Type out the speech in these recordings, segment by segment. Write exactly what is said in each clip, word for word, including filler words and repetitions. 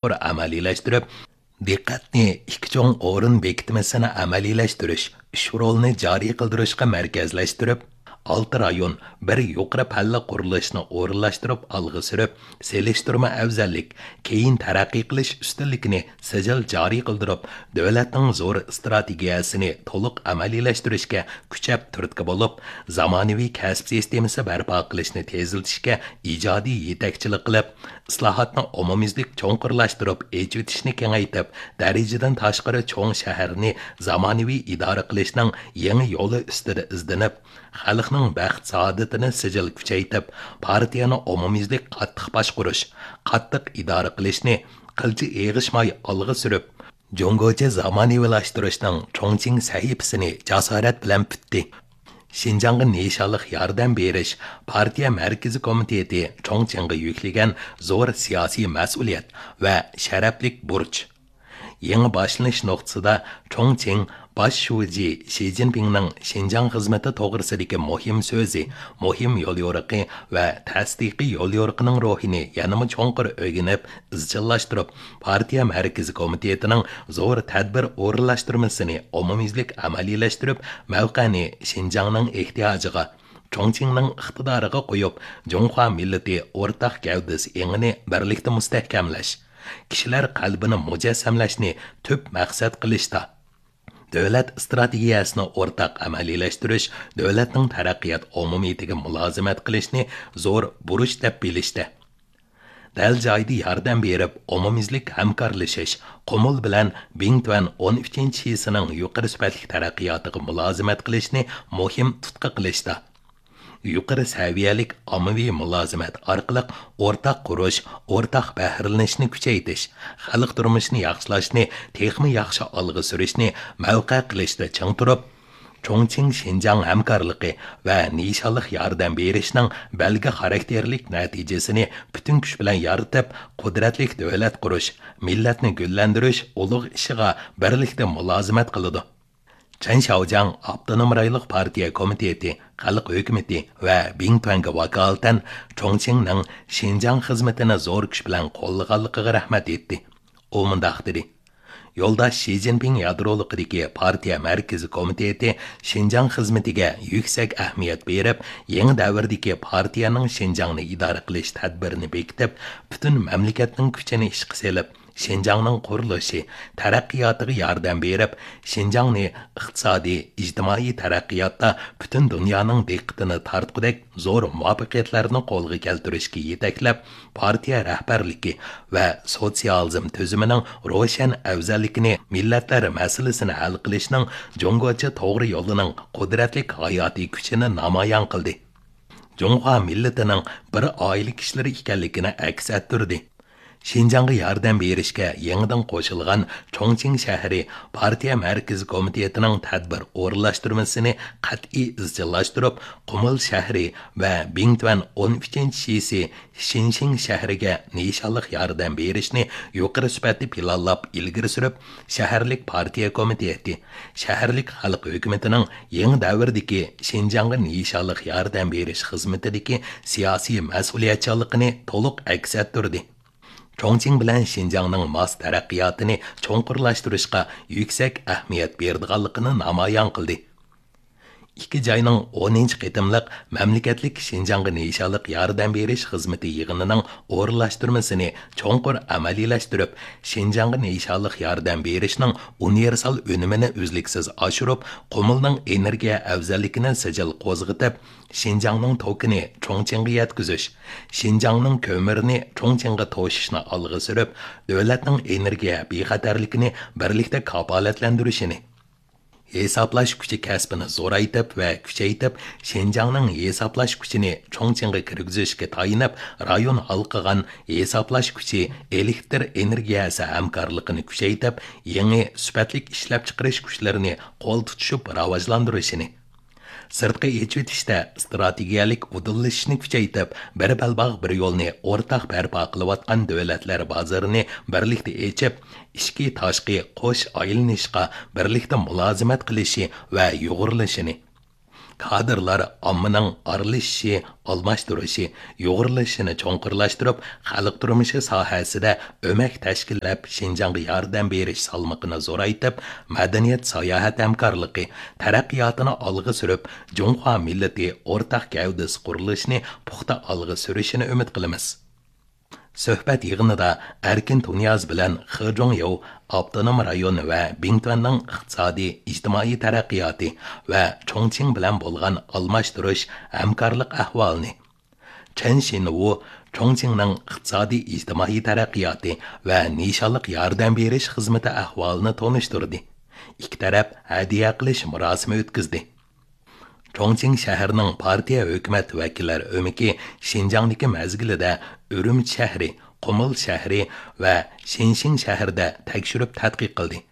چوڭقۇر ئەمەلىيلەشتۈرۈپ، دىققەتنى ئىككى چوڭ ئورۇن بېكىتمىسىنى ئەمەلىيلەشتۈرۈش، ئۈچ رولنى جارى قىلدۇرۇشقا مەركەزلەشتۈرۈپ، ئالتە رايون، بىر يۇقىرى پەللە قۇرۇلۇشنى ئورۇنلاشتۇرۇپ ئالغا سۈرۈپ، سېلىشتۇرما ئەۋزەللىك، كېيىن تەرەققىي قىلىش ئۈستۈنلۈكىنى سىجىل جارى قىلدۇرۇپ، دۆلەتنىڭ زور ئىستراتېگىيەسىنى تولۇق ئەمەلىيلەشتۈرۈشكە كۈچەپ تۈرتكە بولۇپ، زامانىۋى كەسىپ سىستېمىسى بەرپا قىلىشنى تېزلىتىشكە ئىجادىي يېتەكچىلىك قىلىپ، ئىسلاھاتنى ئومۇميۈزلۈك چوڭقۇرلاشتۇرۇپ، ئېچىۋېتىشنى كېڭەيتىپ، دەرىجىدىن تاشقىرى چوڭ شەھەرنى زامانىۋى ئىدارە قىلىشنىڭ يېڭى يولى ئۈستىدە ئىزدىنىپ، خەلقنىڭ بەخت-سائادىتىنى سىجىل كۈچەيتىپ، پارتىيەنى ئومۇميۈزلۈك قاتتىق باشقۇرۇش، قاتتىق ئىدارە قىلىشنى قىلچە ئېغىشماي ئالغا سۈرۈپ، جۇڭگوچە زامانىۋىلاشتۇرۇشنىڭ چۇڭچىڭ سەھىپىسىنى جاسارەت بىلەن پۈتتى. شىنجاڭغا نىشانلىق ياردەم بېرىش پارتىيە مەركىزىي كومىتېتى چۇڭچىڭغا يۈكلىگەن زور سىياسىي مەسئۇلىيەت ۋە شەرەپلىك بۇرچ. يېڭى باشلىنىش نۇقتىسىدا چۇڭچىڭ باش شۇجى شى جىنپىڭنىڭ شىنجاڭ خىزمىتى توغرىسىدىكى مۇھىم سۆزى، مۇھىم يوليورۇقى ۋە تەستىقىي يوليورۇقىنىڭ روھىنى يەنىمۇ چوڭقۇر ئۆگىنىپ، ئىزچىللاشتۇرۇپ، پارتىيە مەركىزىي كومىتېتىنىڭ زور تەدبىر ئورۇنلاشتۇرمىسىنى ئومۇميۈزلۈك ئەمەلىيلەشتۈرۈپ، مەۋقەنى شىنجاڭنىڭ ئېھتىياجىغا، چۇڭچىڭنىڭ ئىقتىدارىغا قويۇپ، جۇڭخۇا مىللىتى ئورتاق گەۋدىسى ئېڭىنى بىرلىكتە مۇستەھكەملەش، كىشىلەر قەلبىنى مۇجەسسەملەشنى تۈپ مەقسەت قىلىشتا، دۆلەت ئىستراتېگىيەسىنى ئورتاق ئەمەلىيلەشتۈرۈش، دۆلەتنىڭ تەرەققىيات ئومۇمىيىتىگە مۇلازىمەت قىلىشنى زور بۇرچ دەپ بىلىشتە، دەل جايىدا ياردەم بېرىپ، ئومۇميۈزلۈك ھەمكارلىشىش، قۇمۇل بىلەن بىڭتۈەن ئون ئۈچىنچى شىسىنىڭ يۇقىرى سۈپەتلىك تەرەققىياتىغا مۇلازىمەت قىلىشنى مۇھىم تۇتقا قىلىشتا، يۇقىرى سەۋىيەلىك ئاممىۋى مۇلازىمەت ئارقىلىق ئورتاق قۇرۇش، ئورتاق بەھرىلىنىشنى كۈچەيتىش، خەلق تۇرمۇشىنى ياخشىلاشنى تېخىمۇ ياخشى ئالغا سۈرۈشنى مەۋقە قىلىشتا چىڭ تۇرۇپ، چۇڭچىڭ شىنجاڭ ھەمكارلىقى ۋە نىشانلىق ياردەم بېرىشنىڭ بەلگە خاراكتېرلىك نەتىجىسىنى پۈتۈن كۈچ بىلەن يارىتىپ، قۇدرەتلىك دۆلەت قۇرۇش، مىللەتنى گۈللەندۈرۈش ئۇلۇغ ئىشىغا بىرلىكتە مۇلازىمەت قىلىدۇ. چەن شياۋجياڭ ئاپتونوم رايونلۇق پارتىيە كومىتېتى، خەلق ھۆكۈمىتى ۋە بىڭتۈەنگە ۋاكالىتەن چۇڭچىڭنىڭ شىنجاڭ خىزمىتىنى زور كۈچ بىلەن قوللىغانلىقىغا رەھمەت ئېيتتى. ئۇ مۇنداق دېدى: يولداش شى جىنپىڭ يادرولۇقىدىكى پارتىيە مەركىزىي كومىتېتى شىنجاڭ خىزمىتىگە يۈكسەك ئەھمىيەت بېرىپ، يېڭى دەۋردىكى پارتىيەنىڭ شىنجاڭنى ئىدارە قىلىش تەدبىرىنى بېكىتىپ، پۈتۈن مەملىكەتنىڭ كۈچىنى ئىشقا سېلىپ، شىنجاڭنىڭ قۇرۇلۇشى، تەرەققىياتىغا ياردەم بېرىپ، شىنجاڭنى ئىقتىسادىي، ئىجتىمائىي تەرەققىياتتا پۈتۈن دۇنيانىڭ دىققىتىنى تارتقۇدەك زور مۇۋەپپەقىيەتلەرنى قولغا كەلتۈرۈشكە يېتەكلەپ، پارتىيە رەھبەرلىكى ۋە سوتسىيالىزم تۈزۈمىنىڭ روشەن ئەۋزەللىكىنى، مىللەتلەر مەسىلىسىنى ھەل قىلىشنىڭ جۇڭگوچە توغرا يولىنىڭ قۇدرەتلىك ھاياتىي كۈچىنى نامايان قىلدى. جۇڭخۇا مىللىتىنىڭ بىر ئائىلە كىشىلىرى ئىكەنلىكىنى ئەكس ئەتتۈردى. شىنجاڭغا ياردەم بېرىشكە يېڭىدىن قوشۇلغان چۇڭچىڭ شەھىرى پارتىيە مەركىزىي كومىتېتىنىڭ تەدبىر ئورۇنلاشتۇرمىسىنى قەتئىي ئىزچىللاشتۇرۇپ، قۇمۇل شەھىرى ۋە بىڭتۈەن ئون ئۈچىنچى شىسى شىنشىڭ شەھىرىگە نىشانلىق ياردەم بېرىشنى يۇقىرى سۈپەتتە پىلانلاپ ئىلگىرى سۈرۈپ، شەھەرلىك پارتىيە كومىتېتى، شەھەرلىك خەلق ھۆكۈمىتىنىڭ يېڭى دەۋردىكى شىنجاڭغا نىشانلىق ياردەم بېرىش خىزمىتىدىكى سىياسىي مەسئۇلىيەتچانلىقىنى تولۇق ئەكس ئەتتۈردى. چۇڭچىڭ بىلەن شىنجاڭنىڭ ماس تەرەققىياتىنى چوڭقۇرلاشتۇرۇشقا يۈكسەك ئەھمىيەت بېرىدىغانلىقىنى نامايان قىلدى. ئىككى جاينىڭ ئونىنچى قېتىملىق مەملىكەتلىك شىنجاڭغا نىشانلىق ياردەم بېرىش خىزمىتى يىغىنىنىڭ ئورۇنلاشتۇرمىسىنى چوڭقۇر ئەمەلىيلەشتۈرۈپ، شىنجاڭغا نىشانلىق ياردەم بېرىشنىڭ ئۇنىۋېرسال ئۈنۈمىنى ئۈزلۈكسىز ئاشۇرۇپ، قۇمۇلنىڭ ئېنېرگىيە ئەۋزەللىكىنى سىجىل قوزغىتىپ، شىنجاڭنىڭ توكىنى چۇڭچىڭغا يەتكۈزۈش، شىنجاڭنىڭ كۆمۈرىنى چۇڭچىڭغا توشۇشنى ئالغا سۈرۈپ، دۆلەتنىڭ ئېنېرگىيە بىخەتەرلىكىنى بىرلىكتە كاپالەتلەندۈرۈشىنى، ھېسابلاش كۈچى كەسپىنى زورايتىپ ۋە كۈچەيتىپ، شىنجاڭنىڭ ھېسابلاش كۈچىنى چۇڭچىڭغا كىرگۈزۈشكە تايىنىپ، رايون ھالقىغان ھېسابلاش كۈچى، ئېلېكتر ئېنېرگىيەسى ھەمكارلىقىنى كۈچەيتىپ، يېڭى سۈپەتلىك ئىشلەپچىقىرىش كۈچلىرىنى قول تۇتۇشۇپ راۋاجلاندۇرۇشىنى، سىرتقا ئېچىۋېتىشتە ئىستراتېگىيەلىك ئۇدۇللىشىشنى كۈچەيتىپ، بىر بەلباغ، بىر يولنى ئورتاق بەرپا قىلىۋاتقان دۆلەتلەر بازىرىنى بىرلىكتە ئېچىپ، ئىچكى، تاشقى قوش ئايلىنىشقا بىرلىكتە مۇلازىمەت قىلىشى ۋە يۇغۇرۇلۇشىنى، كادىرلار ئاممىنىڭ ئارىلىشىشى، ئالماشتۇرۇشى، يۇغۇرۇلۇشىنى چوڭقۇرلاشتۇرۇپ، خەلق تۇرمۇشى ساھەسىدە ئۆمەك تەشكىللەپ، شىنجاڭغا ياردەم بېرىش سالمىقىنى زورايتىپ، مەدەنىيەت، ساياھەت ھەمكارلىقى تەرەققىياتىنى ئالغا سۈرۈپ، جۇڭخۇا مىللىتى ئورتاق گەۋدىسى قۇرۇلۇشىنى پۇختا ئالغا سۈرۈشىنى ئۈمىد قىلىمىز. سۆھبەت يىغىنىدا ئەركىن تۇنىياز بىلەن خې جۇڭياۋ ئاپتونوم رايون ۋە بىڭتۈەننىڭ ئىقتىسادىي، ئىجتىمائىي تەرەققىياتى ۋە چۇڭچىڭ بىلەن بولغان ئالماشتۇرۇش، ھەمكارلىق ئەھۋالىنى، چېن شىنۋۇ چۇڭچىڭنىڭ ئىقتىسادىي، ئىجتىمائىي تەرەققىياتى ۋە نىشانلىق ياردەم بېرىش خىزمىتى ئەھۋالىنى تونۇشتۇردى. ئىككى تەرەپ ھەدىيە قىلىش مۇراسىمى ئۆتكۈزدى. چۇڭچىڭ شەھىرىنىڭ پارتىيە ھۆكۈمەت ۋەكىللەر ئۆمىكى شىنجاڭدىكى مەزگىلىدە ئۈرۈمچى شەھىرى، قۇمۇل شەھىرى ۋە شىنشىڭ شەھىرىدە تەكشۈرۈپ تەتقىق قىلدى.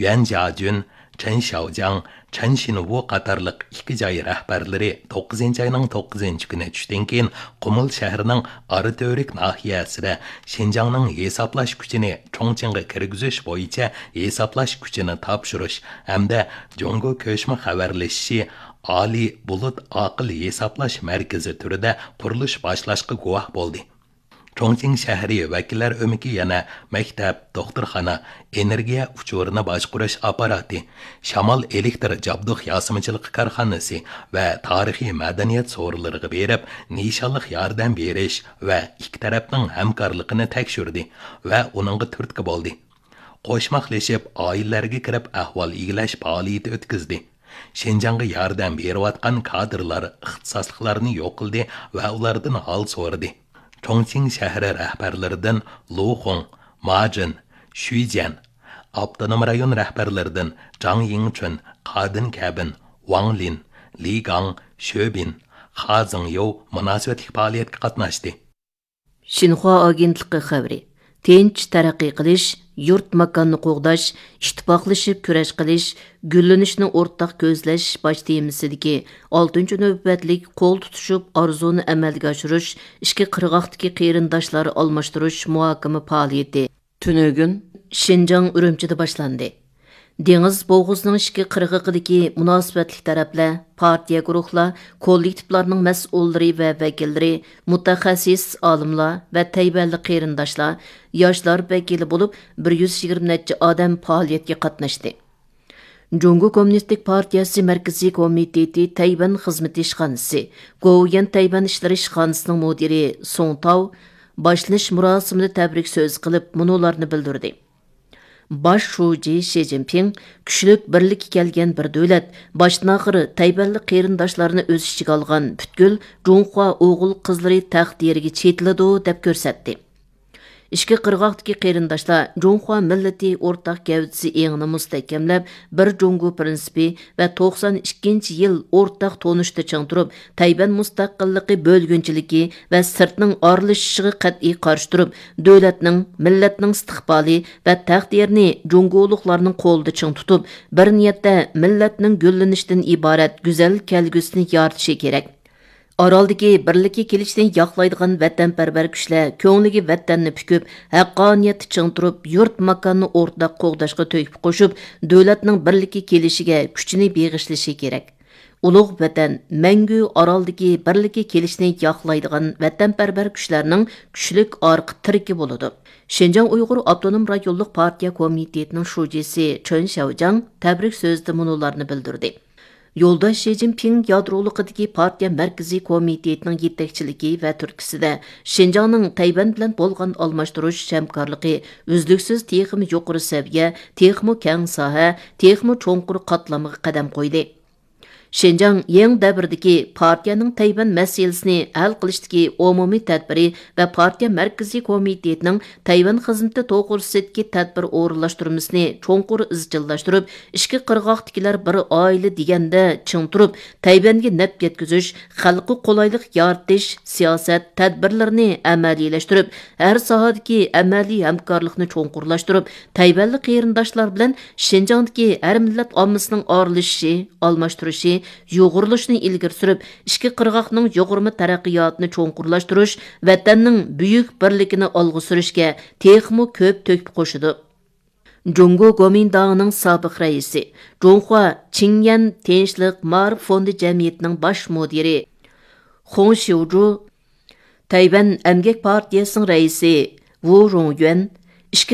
يۈەن جياجۈن، چېن شياۋجياڭ، چېن شىنۋۇ قاتارلىق ئىككى جاي رەھبەرلىرى توققۇزىنچى ئاينىڭ توققۇزىنچى كۈنى چۈشتىن كېيىن قۇمۇل شەھىرىنىڭ ئاراتۈرك ناھىيەسىدە شىنجاڭنىڭ ھېسابلاش كۈچىنى چۇڭچىڭغا كىرگۈزۈش بويىچە ھېسابلاش كۈچىنى تاپشۇرۇش ھەمدە جۇڭگو كۆچمە خەۋەرلىشىشى ئالىي بۇلۇت ئاقىل ھېسابلاش مەركىزى تۈرىدە قۇرۇلۇش باشلاشقا گۇۋاھ بولدى. چۇڭچىڭ شەھىرى ۋەكىللەر ئۆمىكى يەنە مەكتەپ، دوختۇرخانا، ئېنېرگىيە ئۇچۇرىنى باشقۇرۇش ئاپپاراتى، شامال ئېلېكتر جابدۇق ياسىمىچىلىقى كارخانىسى ۋە تارىخىي مەدەنىيەت سورۇنلىرىغا بېرىپ، نىشانلىق ياردەم بېرىش ۋە ئىككى تەرەپنىڭ ھەمكارلىقىنى تەكشۈردى ۋە ئۇنىڭغا تۈرتكە بولدى. قوشماقلىشىپ، ئائىلىلەرگە كىرىپ ئەھۋال ئىگىلەش پائالىيىتى ئۆتكۈزدى. شىنجاڭغا ياردەم بېرىۋاتقان كادىرلار ئىختىساسلىقلارنى يوق قىلدى ۋە ئۇلاردىن ھال سورىدى. چۇڭچىڭ شەھىرى رەھبەرلىرىدىن لۇ خۇڭ، ما جىن، شۈي جيەن، ئاپتونوم رايون رەھبەرلىرىدىن جاڭ يىڭچۈن، قادىن كەبىن، ۋاڭ لىن، لى گاڭ، شۆ بىن، خا زېڭيوۋ مۇناسىۋەتلىك پائالىيەتكە قاتناشتى. شىنخۇا ئاگېنتلىقى خەۋىرى. تىنچ تەرەققىي قىلىش، يۇرت ماكاننى قوغداش، ئىتتىپاقلىشىپ كۈرەش قىلىش، گۈللىنىشنى ئورتاق كۆزلەش باش تېمىسىدىكى ئالتىنچى نۆۋەتلىك قول تۇتۇشۇپ ئارزۇنى ئەمەلگە ئاشۇرۇش ئىككى قىرغاقتىكى قېرىنداشلار ئالماشتۇرۇش مۇھاكىمە پائالىيىتى تۈنۈگۈن شىنجاڭ ئۈرۈمچىدە باشلاندى. دېڭىز بوغۇزىنىڭ ئىككى قىرغىقىدىكى مۇناسىۋەتلىك تەرەپلەر، پارتىيە گۇرۇھلار، كوللېكتىپلارنىڭ مەسئۇللىرى ۋە ۋەكىللىرى، مۇتەخەسسىس ئالىملار ۋە تەيۋەنلىك قېرىنداشلار، ياشلار ۋەكىلى بولۇپ، بىر يۈز يىگىرمە نەچچە ئادەم پائالىيەتكە قاتناشتى. جۇڭگو كوممۇنىستىك پارتىيەسى مەركىزىي كومىتېتى تەيۋەن خىزمىتى ئىشخانىسى، گوۋۇيۈەن تەيۋەن ئىشلىرى ئىشخانىسىنىڭ مۇدىرى سۇڭ تاۋ باشلىنىش مۇراسىمىدا تەبرىك سۆز قىلىپ، مۇنۇلارنى بىلدۈردى. باش شۇجى شى جىنپىڭ، كۈچلۈك بىرلىككە كەلگەن بىر دۆلەت، باشتىن ئاخىر تەيۋەنلىك قېرىنداشلارنى ئۆز ئىچىگە ئالغان پۈتكۈل جۇڭخۇا ئوغۇل قىزلىرى تەقدىرىگە چېتىلىدۇ، دەپ كۆرسەتتى. ئىككى قىرغاقتىكى قېرىنداشلار جۇڭخۇا مىللىتى ئورتاق گەۋدىسى ئېڭىنى مۇستەھكەملەپ، بىر جۇڭگو پىرىنسىپى ۋە توقسان ئىككىنچى يىل ئورتاق تونۇشتا چىڭ تۇرۇپ، تەيۋەن مۇستەقىللىقى بۆلگۈنچىلىكى ۋە سىرتنىڭ ئارىلىشىشىغا قەتئىي قارشى تۇرۇپ، دۆلەتنىڭ، مىللەتنىڭ ئىستىقبالى ۋە تەقدىرىنى جۇڭگولۇقلارنىڭ قولىدا چىڭ تۇتۇپ، بىر نىيەتتە مىللەتنىڭ گۈللىنىشىدىن ئىبارەت گۈزەل كەلگۈسىنى يارىتىشى كېرەك. ئارالدىكى بىرلىككە كېلىشنى ياقلايدىغان ۋەتەنپەرۋەر كۈچلەر كۆڭلىگە ۋەتەننى پۈكۈپ، ھەققانىيەتتە چىڭ تۇرۇپ، يۇرت ماكاننى ئورتاق قوغداشقا تۆھپە قوشۇپ، دۆلەتنىڭ بىرلىككە كېلىشىگە كۈچىنى بېغىشلىشى كېرەك. ئۇلۇغ ۋەتەن مەڭگۈ ئارالدىكى بىرلىككە كېلىشنى ياقلايدىغان ۋەتەنپەرۋەر كۈچلەرنىڭ كۈچلۈك ئارقا تىرىكى بولىدۇ. شىنجاڭ ئۇيغۇر ئاپتونوم رايونلۇق پارتىيە كومىتېتىنىڭ شۇجىسى چېن شياۋجياڭ تەبرىك سۆزىدە مۇنۇلارنى بىلدۈردى. يولداش شى جىنپىڭ يادرولۇقىدىكى پارتىيە مەركىزىي كومىتېتىنىڭ يېتەكچىلىكى ۋە تۈرتكىسىدە شىنجاڭنىڭ تەيۋەن بىلەن بولغان ئالماشتۇرۇش ھەمكارلىقى ئۈزلۈكسىز تېخىمۇ يۇقىرى سەۋىيە، تېخىمۇ كەڭ ساھە، تېخىمۇ چوڭقۇر قاتلامغا قەدەم قويدى. شىنجاڭ يېڭى دەۋردىكى پارتىيەنىڭ تەيۋەن مەسىلىسىنى ھەل قىلىشتىكى ئومۇمىي تەدبىرى ۋە پارتىيە مەركىزىي كومىتېتىنىڭ تەيۋەن خىزمىتى توغرىسىدىكى تەدبىر ئورۇنلاشتۇرمىسىنى چوڭقۇر ئىزچىللاشتۇرۇپ، ئىككى قىرغاقتىكىلەر بىر ئائىلە دېگەندە چىڭ تۇرۇپ، تەيۋەنگە نەپ يەتكۈزۈش، خەلققە قولايلىق يارىتىش سىياسەت، تەدبىرلىرىنى ئەمەلىيلەشتۈرۈپ، ھەر ساھەدىكى ئەمەلىي ھەمكارلىقنى چوڭقۇرلاشتۇرۇپ، تەيۋەنلىك قېرىنداشلار بىلەن شىنجاڭدىكى ھەر مىللەت ئاممىسىنىڭ ئارىلىشىشى، ئالماشتۇرۇشى، يۇغۇرۇلۇشىنى ئىلگىرى سۈرۈپ، ئىككى قىرغاقنىڭ يۇغۇرما تەرەققىياتىنى چوڭقۇرلاشتۇرۇش، ۋەتەننىڭ بۈيۈك بىرلىكىنى ئالغا سۈرۈشكە تېخىمۇ كۆپ تۆھپە قوشىدۇ. جۇڭگو گومىنداڭىنىڭ سابىق رەئىسى، جۇڭخۇا چىڭيەن تىنچلىق مائارىپ فوندى جەمئىيىتىنىڭ باش مۇدىرى خۇڭ شيۇجۇ، تەيۋەن ئەمگەك پارتىيەسىنىڭ رەئىسى ۋۇ رۇڭيۈەن، ئىچكى